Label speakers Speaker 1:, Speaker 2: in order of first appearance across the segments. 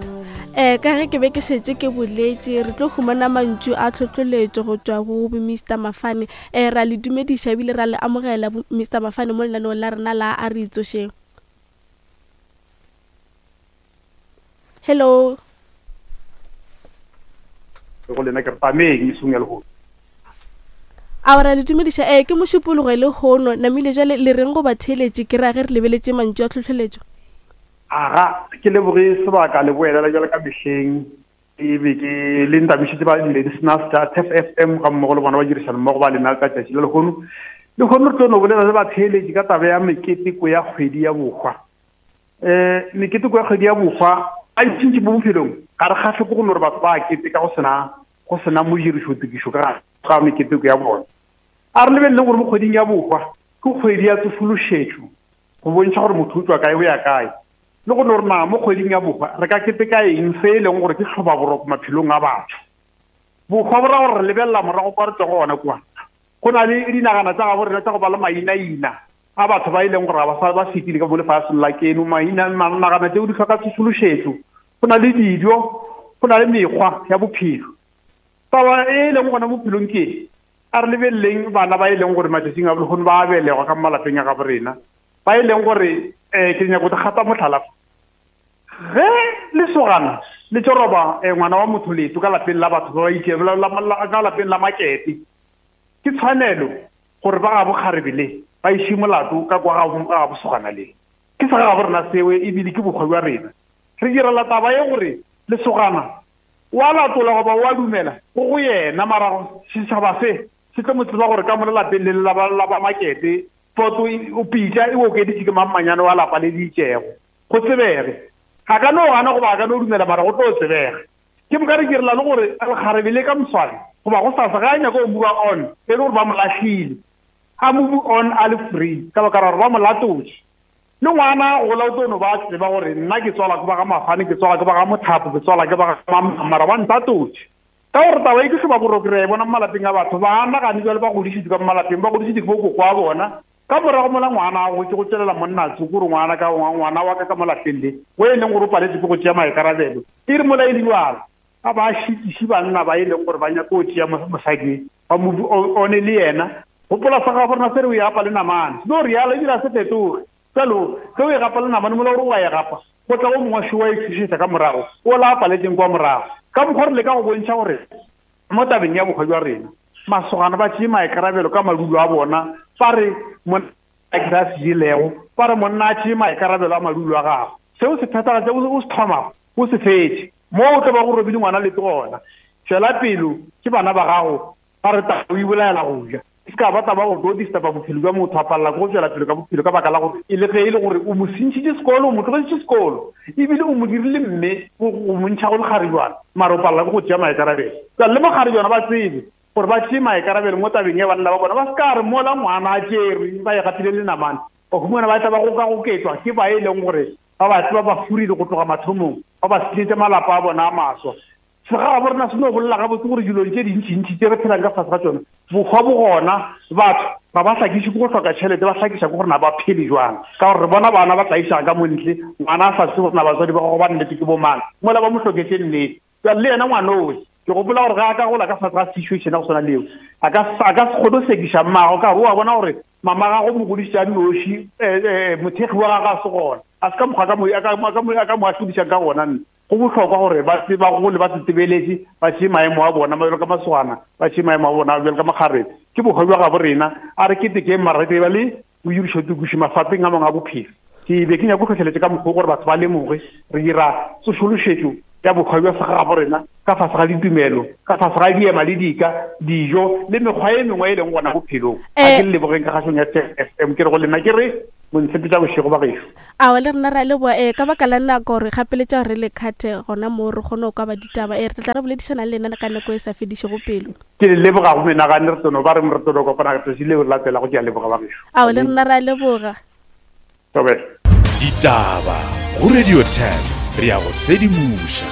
Speaker 1: Um ka ge ke be ke šetše ke boletše, re tlo humana mantšu a tlhotloletšo go tšwa go bo Mister Mafane. Um ra le dumediša ebile ra le amogela bo Mister Mafane mo lenaneong la rena la A Re Itsošeng. Hello.
Speaker 2: Go lena ke re tameng mesong ya lehono.
Speaker 1: A ra le dumediša ee ke mošupologo e lehono namile jale le reng go batheeletši ke ra ge re lebeletše mantšu a tlhohleletšo.
Speaker 2: Aga, ke leboge sebaka le boelela bjalo ka mehleng e be ke le ntamišitše ba di-listeners tša Turf FM ga mmogo le bona ba dirišana mmogo ba lena ka tšatši la lehono. Lehono re tlo no bolela le batheeletši ka taba ya meketeko ya kgwedi ya bohwa. Um meketeko ya kgwedi ya bohwa a ntšintši mo bophelong ga re kgahle ke go no re batho ba keteka go sena go sena modirišotokišo ka ga meketeko ya bona. A re lebeleleng gore mo kgweding ya bohwa ke kgwedi ya tsosološetšo go bontšha gore motho o tšwa kae o ya kae, le go no re na mo kgweding ya bohwa re ka keteka eng se e leng gore ke tlhobaboroko maphelong a batho. Bohwa bo ra gore re lebelela morago kwa re tšwago gona kua. Go na le dinagana tša gabo rena tša go ba le mainaina a batho ba e leng gore ga ba sa ba fetile ka mo lefaseng la keno. Maina, nagana tšeo di hloka tsosološetšo. Go na le dijo, go na le mekgwa ya bophelo. Taba e e leng gona bophelong ke A re lebeleleng bana ba e leng gore matšatšing a lehono ba a belegwa ka mo malapeng a gabo rena, ba e leng gore um ke nyako gata mohlala fa. Ge lesogana le tšo roba um ngwana wa motho leto ka lapeng la batho ba ba itšego, ka lapeng la makete, ke tshwanelo gore ba gabo kgarebe le ba iše molato ka kwa ga gabo sogana le. Ke sa gabo rena seo ebile ke bokgwa bja rena. Re direla taba ye gore lesogana O a latola goba o a dumela, go go yena. Mara setšhaba se se tlo mo tseba gore ka mo le lapeng le la ba, la ba Makete, poto o pitša e okeditše ke mammanyane wa lapa le le itšego. Go tsebege. A ka no gana goba a ka no dumela, mara go tlo tsebega. Ke moka re direla le gore lekgarebe le ka moswane goba gosasa ge a nyaka go move on, e le gore ba mo lahlile, a move on a le free ka baka la gore ba mo latotše. Le ngwana a gola o tlo no ba a tseba gore nna ke tswalwa ke ba ga Mafane, ke tswalwa ke ba ga Mothapo, ke tswalwa ke ba ga Mamang, mara ba ntatotše. Ka gore taba ye ke hlobaboroko re a e bona mo malapeng a batho, ba nagane bjalo ba godišitšwe ka mo malapeng, ba godišitšwe ke bokoko wa bona. Ka morago mola ngwana a gotše go tšwelela monna tsoko gore ngwana ka ngwana wa ka ka mo lapeng le, wo e leng gore o paletšwe ke go tšea maikarabelo. E re mola e le bjalo, a ba šitiše banna ba e leng gore ba nyaka go tšea mosadi ba mo one le yena. Gopola sa gabo rena se re o e gapa le namane. Se no realo ebile a se fetoge. Bjalo, ge o e gapa le namane mola o re o a e gapa, go tla o mongwe wa šo wa e tšhošetša ka morago, o la a paletšeng kwa morago. Ka mokgwa re leka go bontšha gore mo tabeng ya bohwa bja rena, masogana ba tšee maikarabelo ka madulo a bona, ba re monna a ke se a se jelego, ba re monna a tšee maikarabelo a madulo a gagwe. Se o se phethagatše, o se thomago, o se fetše. Mo o tlo bago o robile ngwana leto gona. Tšwela pelo, ke bana ba gago, ba re taba o ibolaela go ja. E se ka ba taba go tlo disturba bophelo bja motho, a palela ke go tšwela pele ka bophelo ka baka la gore e le ge e le gore o mo sentšhitše sekolo, o mo tlogetše sekolo, ebile o mo dirile mme go mo ntšha go lekgarejwana, mara o palela ke go tšea maikarabelo. Bjale le makgarejwana ba tsebe gore ba tšee maikarabelo mo tabeng ya banna ba bona, ba se ka re mola ngwana a tšerwe ba e gapile le namane, ba humana ba tla ba gokagoketšwa ke ba e leng gore ba ba tseba ba furile go tloga mathomong, ba ba senyetša malapa a bona a maswa. Segagabo rena se no bolela gabotse gore dilong tše dintšintši tše re phelang ka fase ga tšona, bohwa bo gona, batho ga ba hlakiše ke go hloka tšhelete, ba hlakiša ke gore na ba phele jwang. Ka gore re bona bana ba tlaišega ka mo ntle, ngwana a sa tsebe gore na batswadi ba gagwe ba nnete ke bomang, mola ba mo hloketše nnete. Bjale le yena ngwanowe, ke gopola gore ge a ka gola ka fase ga situation ya go swana le yeo, a ka a ka se kgone go sekiša mmagwe ka gore o a bona gore mama gagwe o mo godišitše a nnoši, mothekgi wa gagwe a se gona. A se ka mokgwa a ka mo a ka a ka mo a ka mo ahlodišang ka gona nna. Go bohlokwa gore ba ba gole ba tsetebeletše, ba tšee maemo a bona bjalo ka masogana, ba tšee maemo a bona bjalo ka makgarebe. Ke bohwa bja gabo rena, a re ketekeng mara re ba le boirišotokiši mafapeng a mangwe a bophelo. Ke be ke nyaka go hlohleletša ka mokgwa gore batho ba lemoge re dira tsošološetšo ya bohwa bja segagabo rena ka fase ga ditumelo, ka fase ga diema le dika, dijo le mekgwa e mengwe e leng gona bophelong. A ke le lebogeng ka kgašong ya FM ke re go lena ke re montshepetša bošego ba gešo.
Speaker 1: Aowa le rena re a leboga ee ka baka la nako re gapeletša gore re le khathe gona moo re kgone go kwa ba ditaba ee re tla tla re boledišana le lena ka nako e sa fedišego pelo.
Speaker 2: Ke le leboga go menagane re tlono ba re re tlono kopana tsatsi leo re latelago ke a leboga ba gešo.
Speaker 1: Aowa le rena re a leboga.
Speaker 2: Thobela.
Speaker 3: Ditaba go Radio 10 re ya go sedimoša.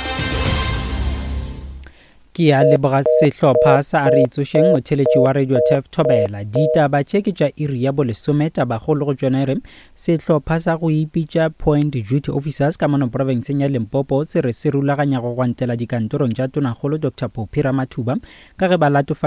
Speaker 4: Ke.
Speaker 3: Ke a leboga sehlopha sa A Re Itsošeng, motheeletši wa Radio Turf Thobela. Ditaba tše ke tša iri ya bolesome, tabakgolo go tšona e re, Sehlopha sa go ipitša Point Duty Officers ka mono profenseng ya Limpopo se re se rulaganya go gwantela dikantorong tša Tonakgolo Doctor Phophi Ramathuba ka ge ba latofatša